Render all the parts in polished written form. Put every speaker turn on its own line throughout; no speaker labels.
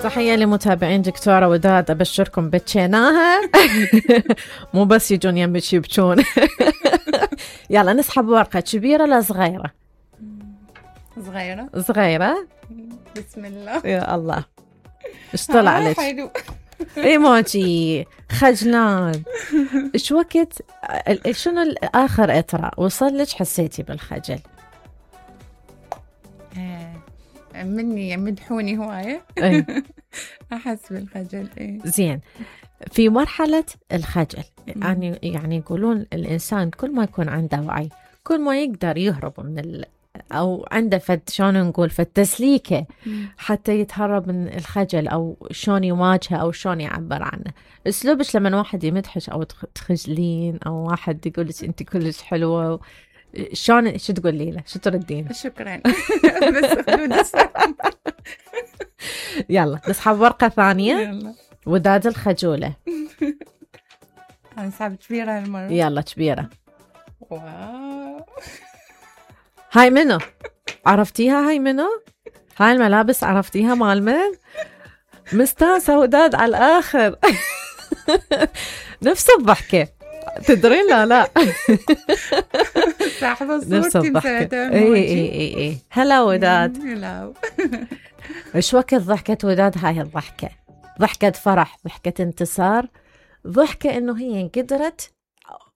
تحية لمتابعين دكتورة وداد، أبشركم بتشيناها مو بس يجون يمك يبكون. يلا نسحب ورقة كبيرة لا صغيرة؟
صغيرة.
صغيرة.
بسم الله.
يا الله ايش طلع لك؟
حلو.
ايموجي خجلان. ايش وقت شنو الآخر اطرأ وصل لك حسيتي بالخجل؟
مني يمدحوني هواية. أحس بالخجل.
زين، في مرحلة الخجل يعني يقولون الإنسان كل ما يكون عنده وعي كل ما يقدر يهرب من أو عنده شلون نقول تسليكه حتى يتهرب من الخجل، أو شلون يواجهه أو شلون يعبر عنه. أسلوبش لما واحد يمدحش أو تخجلين أو واحد يقولك أنت كلش حلوة، شلون شو تقولي له؟ شو تردين؟
شكرا. بس حدود السلام.
يلا نسحب ورقة ثانية.
يلا.
وداد الخجولة.
هنسحب كبيرة هالمرة.
يلا كبيرة.
واو.
هاي منو؟ عرفتيها؟ هاي منو؟ هاي الملابس عرفتيها مال من؟ مستانسة وداد على الآخر. نفس الضحكة تدرين؟ لا
صاحبة
نفس
صورتي
الضحكة. اي هلا وداد.
هلا.
ايش وقت ضحكة وداد؟ هاي الضحكة ضحكة فرح، ضحكة انتصار، ضحكة انه هي قدرت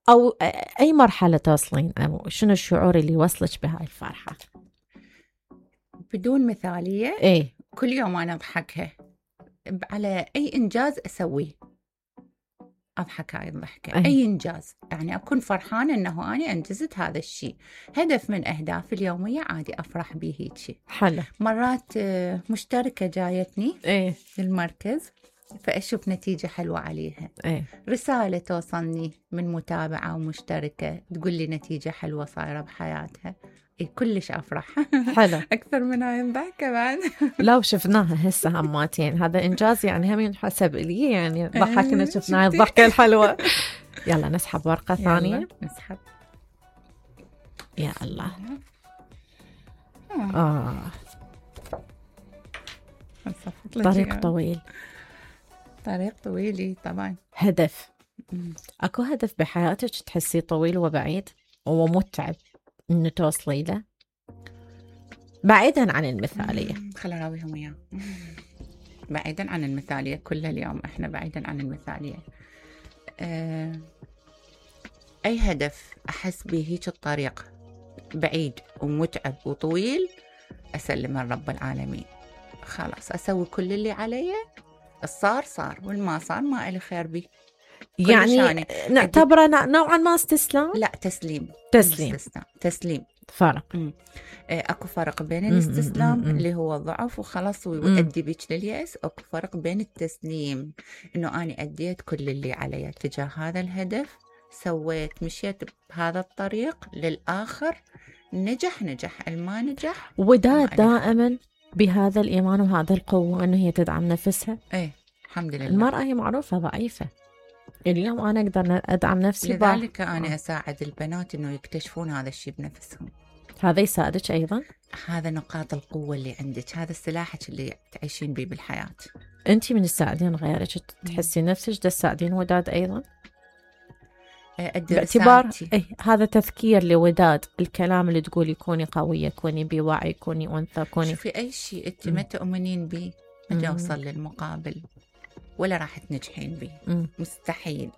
او اي مرحلة توصلين، او شنو الشعور اللي وصلك بهاي الفرحة؟
بدون مثالية.
ايه
كل يوم انا اضحكها على اي انجاز اسويه، اضحك هاي الضحكة. اي انجاز يعني اكون فرحانة انه انا انجزت هذا الشيء، هدف من اهدافي اليومية عادي افرح به هيك.
حلو.
مرات مشتركة جايتني للمركز فأشوف نتيجة حلوة عليها. رسالة توصلني من متابعة ومشتركة تقول لي نتيجة حلوة صايرة بحياتها، كلش أفرح.
حلو.
أكثر من هاي الضحكة بعد.
لو شفناها هسه هماتين هذا إنجاز يعني، هم ينحسب لي يعني ضحكنا شفنا الضحكة الحلوة. يلا نسحب ورقة ثانية.
نسحب.
يا الله. طريق طويل.
طريق طويل طبعا.
هدف. أكو هدف بحياتك تحسيه طويل وبعيد ومتعب إنه توصلي له بعيدا عن المثالية؟
خلنا نراويهم إياه. بعيدا عن المثالية، كل اليوم إحنا بعيدا عن المثالية. أي هدف أحس به هيك الطريق بعيد ومتعب وطويل أسلم من رب العالمين، خلاص أسوي كل اللي علي، الصار صار والما صار ما إلي خير به.
يعني نعتبره نوعا ما استسلام؟
لا، تسليم. تسليم.
فرق.
اكو فرق بين الاستسلام اللي هو ضعف وخلاص ويؤدي بك لليأس، اكو فرق بين التسليم انه اني اديت كل اللي علي تجاه هذا الهدف، سويت مشيت بهذا الطريق للآخر، نجح الما نجح.
وداد دائما بهذا الإيمان وهذا القوة أنه هي تدعم نفسها.
الحمد لله.
المرأة هي معروفة ضعيفة، اليوم أنا أقدر أدعم نفسي.
لذلك أنا أساعد البنات أنه يكتشفون هذا الشيء بنفسهم.
هذا يساعدك أيضا؟
هذا نقاط القوة اللي عندك، هذا سلاحك اللي تعيشين به بالحياة.
أنت من الساعدين غيرك تحسي نفسك تساعدين وداد أيضا؟ باعتبار هذا تذكير لوداد، الكلام اللي تقولي كوني قوية، كوني بوعي، كوني أنثى، كوني
في أي شيء أنت ما تؤمنين به ما توصل للمقابل ولا راح تنجحين به. مستحيل.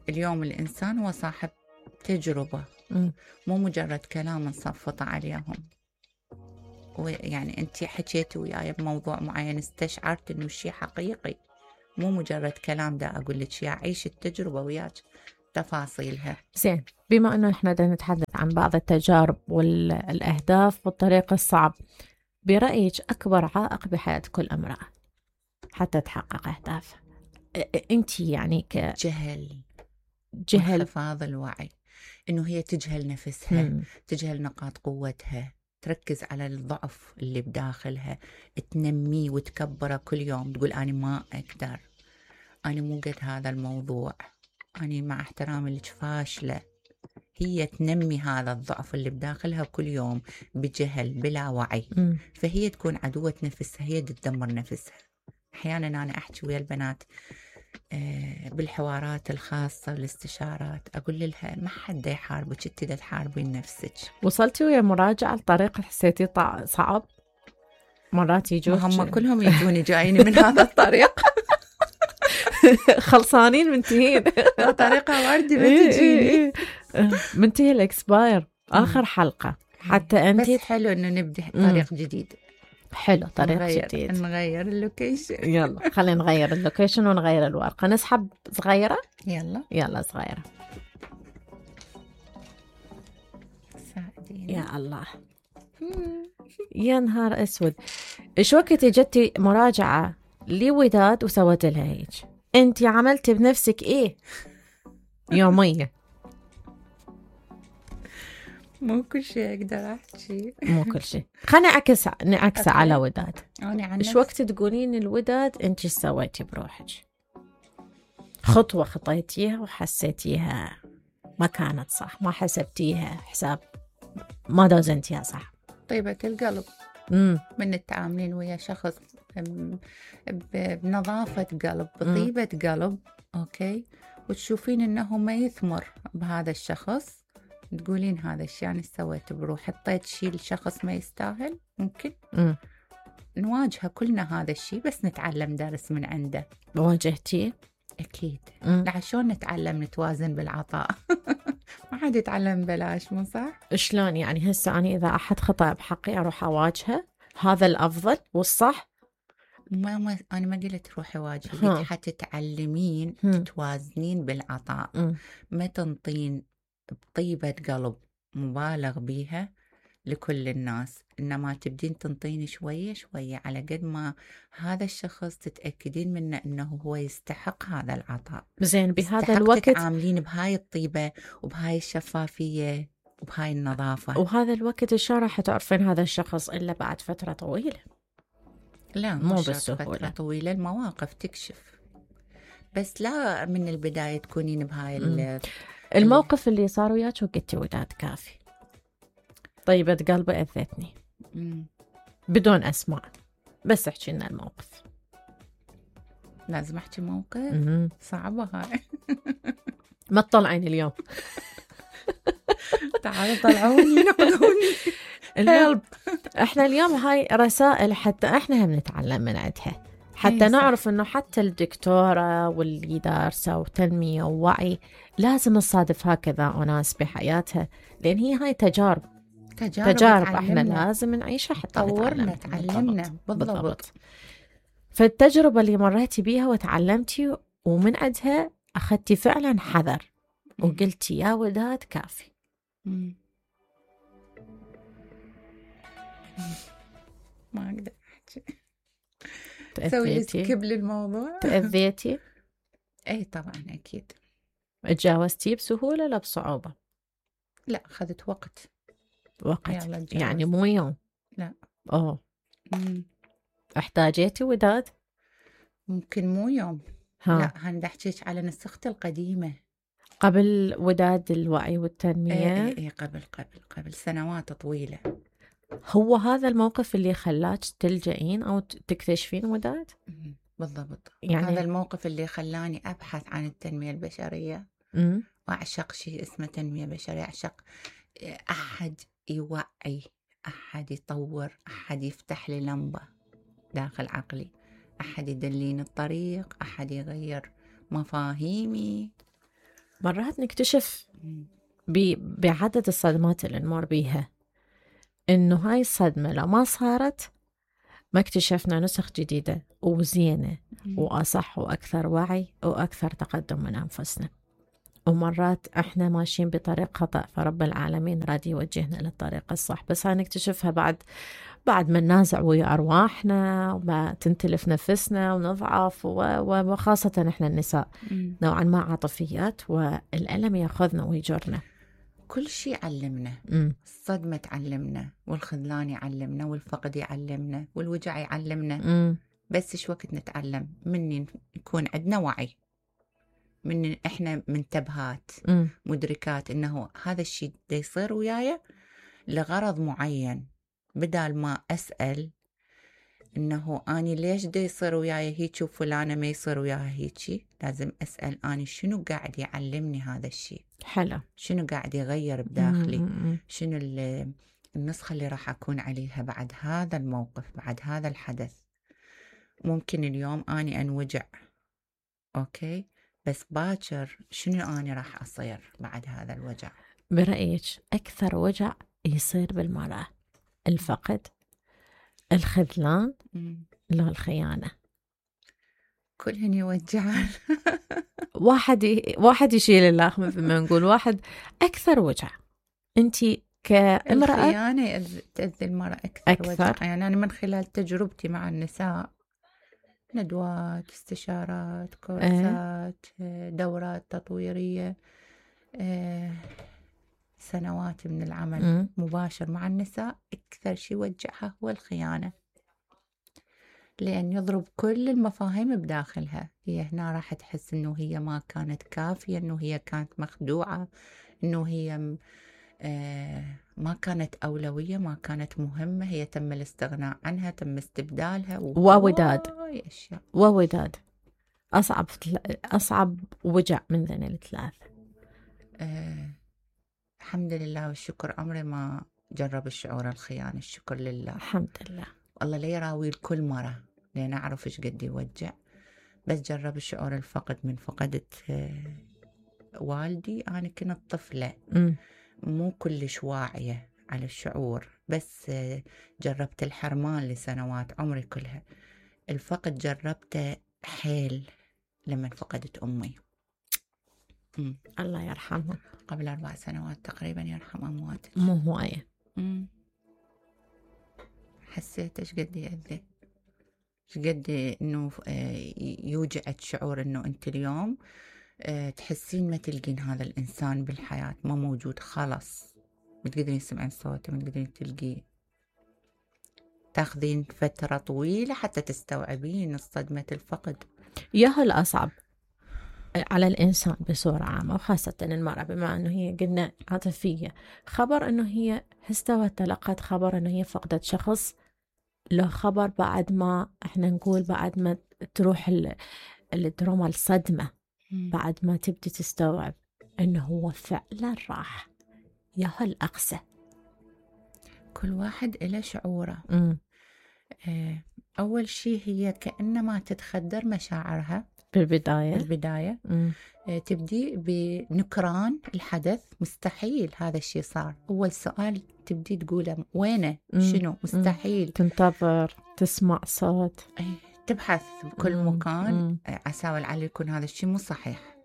اليوم الإنسان هو صاحب تجربة، مو مجرد كلام نصفط عليهم. ويعني أنت حكيتي وياي بموضوع معين استشعرت إنه شيء حقيقي، مو مجرد كلام دا أقول لك يا عيش التجربة وياك تفاصيلها.
زين، بما أنه إحنا دا نتحدث عن بعض التجارب والأهداف والطريق الصعب، برأيك أكبر عائق بحياة كل امرأة حتى تحقق أهدافها أنت يعني
جهل حفاظ الوعي، إنه هي تجهل نفسها، تجهل نقاط قوتها، تركز على الضعف اللي بداخلها، تنميه وتكبره كل يوم، تقول أنا ما أقدر، أنا مو قد هذا الموضوع، أنا مع احترامي لك فاشلة. هي تنمي هذا الضعف اللي بداخلها كل يوم بجهل بلا وعي. فهي تكون عدوة نفسها، هي تدمر نفسها. أحيانا أنا أحكي ويا البنات بالحوارات الخاصة والاستشارات، أقول لها ما حد يحاربك، انت دا تحاربين نفسك.
وصلتي ويا مراجعة الطريقة حسيتي صعب؟ مرات يجوك
هم كلهم يجوني جايين من هذا الطريق
خلصانين منتهين
طريقة واردة ما تجيني
منتهي الإكسباير آخر حلقة حتى أنت.
بس حلو إنه نبدأ طريق جديد.
حلو، طريق جديد.
نغير اللوكيشن.
يلا خلينا نغير اللوكيشن ونغير الورقة. نسحب صغيرة. يلا صغيرة.
ساعديني
يا الله. يا نهار أسود. إيش وقت جتي مراجعة لوداد وسوت لها هيك؟ أنتي عملتي بنفسك إيه يومية؟
مو كل شيء أقدر أحكي.
مو كل شيء. خلينا نعكس على وداد. إيش وقت تقولين الوداد أنتي إيش سويتي بروحك؟ خطوة خطيتيها وحسيتيها ما كانت صح، ما حسبتيها حساب، ما دوزنتيها صح.
طيبة القلب من التعاملين ويا شخص بنظافة قلب، بطيبة قلب، أوكي، وتشوفين إنه ما يثمر بهذا الشخص، تقولين هذا الشيء يعني سويت بروح، حطيت شيء الشخص ما يستاهل. ممكن نواجهه كلنا هذا الشيء، بس نتعلم درس من عنده.
واجهتيه؟
أكيد. لعشان نتعلم نتوازن بالعطاء. ما حد يتعلم بلاش، مو صح؟
شلون يعني؟ هسه أنا إذا أحد خطأ بحقي أروح أواجهه، هذا الأفضل والصح.
أنا ما قلت روحي واجهي، قلت حتى تعلمين تتوازنين بالعطاء. ما تنطين بطيبة قلب مبالغ بيها لكل الناس، إنما تبدين تنطين شوية شوية على قد ما هذا الشخص تتأكدين منه إنه هو يستحق هذا العطاء.
زين، بهذا الوقت
تتعاملين بهاي الطيبة وبهاي الشفافية وبهاي النظافة.
وهذا الوقت إيش راح تعرفين هذا الشخص إلا بعد فترة طويلة؟
لا
مو بالسهولة.
فترة طويلة المواقف تكشف، بس لا من البداية تكونين بهاي
الموقف اللي صار وياك وقلتي وداد كافي، طيبة قلبي أذتني، بدون أسماء بس احكي لنا الموقف.
لازم أحكي موقف صعبة هاي.
ما تطلعين اليوم.
تعالوا طلعوني نقلوني
اليوم. احنا اليوم هاي رسائل حتى احنا هم نتعلم من عندها، حتى نعرف انه حتى الدكتورة واللي دارسة وتنمية ووعي لازم نصادف هكذا أناس بحياتها، لأن هي هاي تجارب احنا لازم نعيشها حتى
طورنا تعلمنا. بالضبط.
فالتجربة اللي مريتي بيها وتعلمتي ومن عندها أخذتي فعلا حذر وقلتي يا وداد كافي.
ما أقدر أحكي. سوي سكيب للموضوع.
تأذيتي؟
أي طبعا أكيد.
تجاوزتي بسهولة لا بصعوبة؟
لا، أخذت وقت
يعني مو يوم.
لا.
احتاجيتي وداد؟
ممكن مو يوم. لا، هندا أحكيك على نسختي القديمة
قبل وداد الوعي والتنمية.
ايه قبل سنوات طويلة.
هو هذا الموقف اللي خلاك تلجئين أو تكتشفين وداد؟
بالضبط. يعني هذا الموقف اللي خلاني أبحث عن التنمية البشرية. وأعشق شيء اسمه تنمية بشرية. أعشق أحد يوعي، أحد يطور، أحد يفتح لي لمبة داخل عقلي، أحد يدلين الطريق، أحد يغير مفاهيمي.
مرات نكتشف بعدد الصدمات اللي نمر بيها إنه هاي الصدمة لو ما صارت ما اكتشفنا نسخ جديدة وزينة وأصح وأكثر وعي وأكثر تقدم من أنفسنا. ومرات احنا ماشيين بطريق خطأ، فرب العالمين راد يوجهنا للطريق الصح، بس هاي نكتشفها بعد ما ننازع ويا أرواحنا وما تنتلف نفسنا ونضعف، وخاصة احنا النساء نوعا ما عاطفيات، والألم ياخذنا ويجرنا.
كل شيء علمنا. الصدمة تعلمنا، والخذلان يعلمنا، والفقد يعلمنا، والوجع يعلمنا. بس شو وقت نتعلم مني يكون عندنا وعي من إحنا منتبهات مدركات إنه هذا الشيء دا يصير وياي لغرض معين، بدال ما أسأل إنه أني ليش دا يصير وياي هيك وفلانة ما يصير وياها هيك. لازم أسأل أني شنو قاعد يعلمني هذا الشيء،
حلو،
شنو قاعد يغير بداخلي، شنو النسخة اللي راح أكون عليها بعد هذا الموقف، بعد هذا الحدث. ممكن اليوم أني أنوجع، أوكي، بس باكر شنو أني راح أصير بعد هذا الوجع؟
برأيك أكثر وجع يصير بالمرأة الفقد، الخذلان، لو الخيانة؟
كلهن يوجعان.
واحد يشيل الآخر، مثل ما نقول واحد أكثر وجع. أنتي كامرأة
الخيانة تأذي المرأة أكثر وجع. يعني أنا من خلال تجربتي مع النساء، ندوات، استشارات، كورسات، دورات تطويرية، سنوات من العمل مباشر مع النساء، أكثر شيء وجعها هو الخيانة، لأن يضرب كل المفاهيم بداخلها. هي هنا راح تحس إنه هي ما كانت كافية، إنه هي كانت مخدوعة، إنه هي ما كانت أولوية، ما كانت مهمة، هي تم الاستغناء عنها، تم استبدالها
ووداد. أصعب وجع من ذن الثلاث.
الحمد لله والشكر، عمري ما جرب الشعور الخيانة، الشكر لله،
الحمد لله.
الله لا يراوي لكل مرة، لأن أعرف إيش قد يوجع. بس جرب الشعور الفقد من فقدت والدي. أنا كنت طفلة مو كلش واعية على الشعور، بس جربت الحرمان لسنوات عمري كلها. الفقد جربته حيل لما فقدت أمي.
الله يرحمها،
قبل 4 سنوات تقريبا، يرحم أمواتك.
مو هواية.
حسيت إيش قد يأذي، إيش قد إنه يوجعك شعور إنه أنت اليوم تحسين ما تلقين هذا الإنسان بالحياة، ما موجود خلاص، ما تقدرين تسمعين صوته، ما تقدرين تلقيه، تاخذين فترة طويلة حتى تستوعبين صدمة الفقد.
ياهو الأصعب على الإنسان بصورة عامة، وخاصة المرأة، بما أنه هي قلنا عاطفية. خبر أنه هي استوت، تلقت خبر أنه هي فقدت شخص، له خبر بعد ما احنا نقول بعد ما تروح الدراما، الصدمة، بعد ما تبدي تستوعب أنه هو فعلا راح. ياهو الأقسى.
كل واحد إله شعوره. أول شيء هي كأنما تتخدر مشاعرها بالبداية. تبدي بنكران الحدث، مستحيل هذا الشيء صار. أول سؤال تبدي تقوله وينه، شنو، مستحيل.
تنتظر تسمع صوت،
تبحث بكل مكان عساول على يكون هذا الشيء مو صحيح.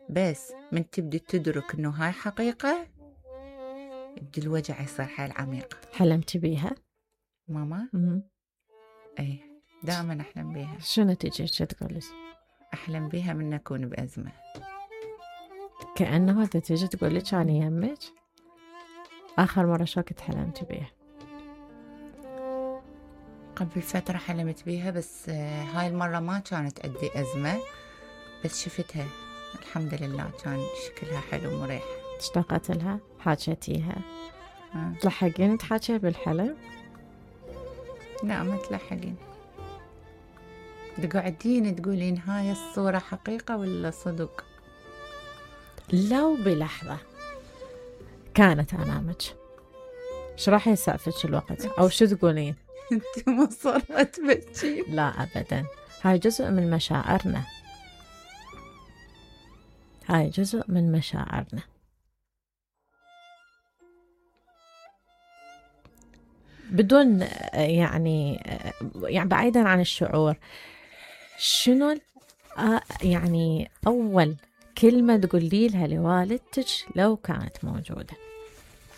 بس من تبدي تدرك إنه هاي حقيقة، يبدي الوجع يصير حيل عميق.
حلمت بيها
ماما؟ أي دائما أحلم بيها.
شنو تجي تقولي؟
أحلم بيها من أكون بأزمة.
كأنه تجي تقولي كان يهمك آخر مرة شو كنت حلمت بيها؟
قبل فترة حلمت بيها، بس هاي المرة ما كانت أدي أزمة، بس شفتها الحمد لله، كان شكلها حلو مريح.
اشتقت لها، حاجتيها. تلحقين تحاجي بالحلم؟
لا ما تلحقين، تقعدين تقولين هاي الصورة حقيقة ولا صدق.
لو بلحظة كانت أمامك، شو راح يسعفك الوقت أو شو تقولين؟
انت مصرة تبكي؟
لا أبدا، هاي جزء من مشاعرنا، هاي جزء من مشاعرنا. بدون يعني بعيدا عن الشعور، شنو يعني أول كلمة تقولي لها لوالدتك لو كانت موجودة؟